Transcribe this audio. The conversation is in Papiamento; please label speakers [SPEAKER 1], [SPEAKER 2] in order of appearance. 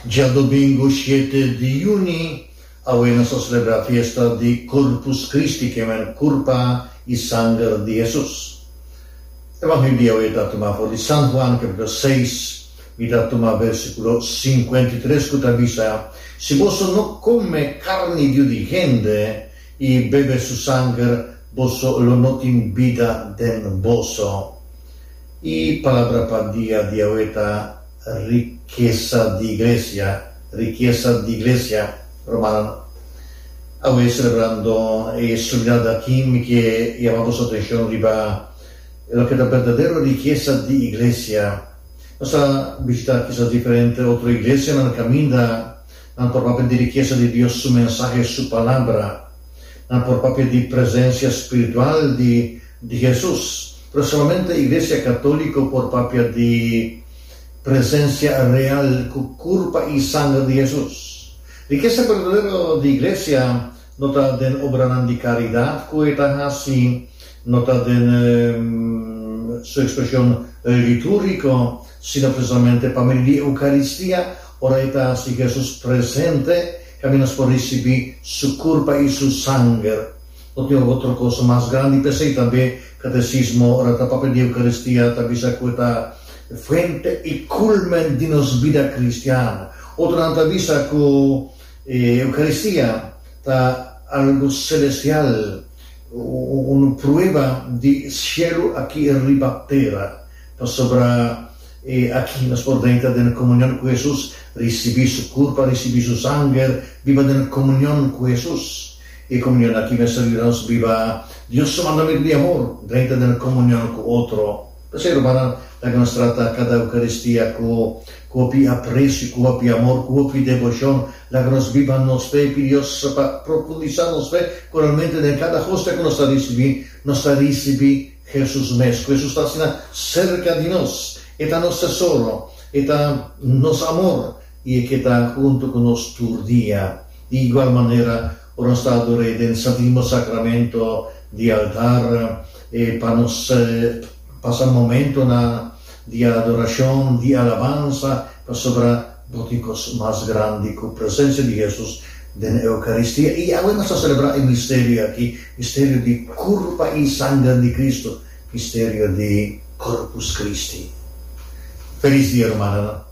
[SPEAKER 1] Djadomingo shete di juni, awe nos ta selebrá fiesta di Corpus Christi, ke men Kurpa i Sanger di Hesus. Evangelio di awe ta tumá for di San Juan kapitulo seis, mi ta tuma versíkulo 53 ku ta bisa, Si boso no kome karni di yu di hende i bebe su sanger, boso lo no tin bida den boso. E palabra pa dia di awe ta Rikesa di Iglesia, Rikesa di Iglesia, Rumannan. Awe selebrando e solemnidad aki mi ke yama boso atencion riba loke ta berdadero rikesa di Iglesia. Nos a bishita kisas diferente otro iglesianan caminda nan por papia di rikesa di Dios su mensahe, su palabra. Nan por papia di presencia spiritual di di Hesus. Pero solamente Iglesia Catolico por papia di presencia real cu curpa y sanger di Hesus. Rikesa berdadero di Iglesia no ta den obranan di caridad cu e ta haci, no ta den su expresion litúrgico, sino precisamente pa medio di Eucaristia, ora e ta haci Hesus presente, caminda nos por ricibi su curpa y su sanger. No tin otro kos mas grandi. P'esei tambe Katesismo ora ta papia di Eukaristia ta bisa ku e ta fuente i kulmen di nos bida kristian. Otronan ta bisa ku e Eukaristia ta algu selestial, un prueba di shelu aki riba tera, pasobra e aki nos por drenta den komunion ku Hesus, risibí su kurpa, risibí su sanger, biba den komunion ku Hesus. E komunion aki mester yuda nos biba Dios su mandamentu di amor, drenta den komunion ku otro. P'esei, rumannan, laga nos trata kada Eukaristia ku hopi apresio, ku hopi amor, ku hopi deboshon. Laga nos biba nos fe i pidi Dios pa profundisá nos fe ku realmente den kada hostia ku nos ta risibí, nos ta risibí Hesus mes. Ku Hesus ta asina serka di nos. E ta nos tesoro, e ta nos amor i e ke ta huntu ku nos tur dia. Di igual manera, ora nos ta ador'é den Santísimo Sacramento di altar, e pa nos pasa momentonan di adoracion, di alabansa, pasobra bo tin cos mas grandi cu presencia di Jesus den Eucaristia. I awe nos ta celebra e misterio aki, misterio di Curpa i Sanger di Cristo, misterio di Corpus Christi. Feliz dia, rumannan.